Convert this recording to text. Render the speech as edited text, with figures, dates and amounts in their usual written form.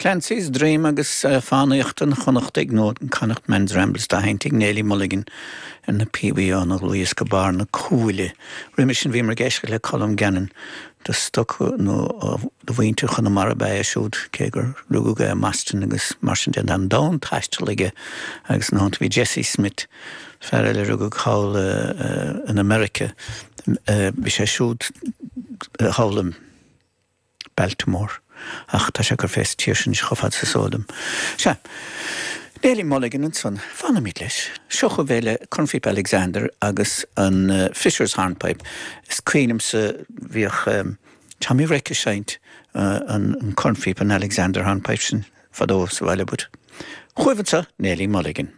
Clancy's Dream agus Fánaíocht an Chonnachtaigh nó Connacht Man's Rambles dá sheinnt ag Neilí Mulligan ar na píobaí óna gcluas go barr na cuaille. Roimhe sin bhíomar ag éisteacht le Colm Gannon de stoc nó de mhuintir Chonamara ab ea é siúd, cé gur rugadh é i mBoston agus mar sin de. Tá an domhan taistil aige agus ina theannta bhí Jesse Smith, fear eile a rugadh thall in America, bhí sé siúd thall i. Baltimore. Ach tá sé ag cur fé sa tír sin anois chomh fada is is eol dom. Sea. Neilí Mulligan ansan. Fanfaimid leis. Seo chugaibh é le Cornphíopa Alexander agus an Fisher's Hornpipe. Is cuimhin liomsa bhíodh Tommy Reck ag seinnt an cornphíopa, an Alexander Hornpipe sin fadó sa bhaile but. Chugaibh anseo Neilí Mulligan.